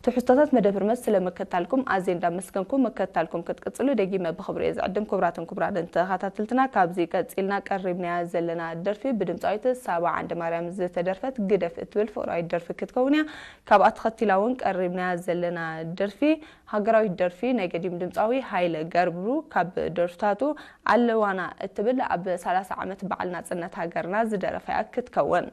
ትሕዝቶታት መደብ ህርመት ስለመከታልኩም ኣዝየ እንዳመስገንኩ፣ መከታልኩም ክትቅጽሉ ደጊመ ብኽብሪ እየ ዝዕድም። ክቡራትን ክቡራንን ተኸታተልትና፣ ካብዚ ቀጺልና ቀሪብናያ ዘለና ደርፊ ብድምጻዊት ሳባ ዓንደማርያም ዝተደርፈት ግደፍ እትብል ፍቕራዊት ደርፊ ክትከውን እያ። ካብኣ ተኸቲላ እውን ቀሪብናያ ዘለና ደርፊ ሃገራዊት ደርፊ ናይ ገዲም ድምጻዊ ሃይለ ገብሩ ካብ ደርፍታቱ ኣለዋና እትብል ኣብ ሰላሳ ዓመት በዓል ናጽነት ሃገርና ዝደረፋያ ክትከውን።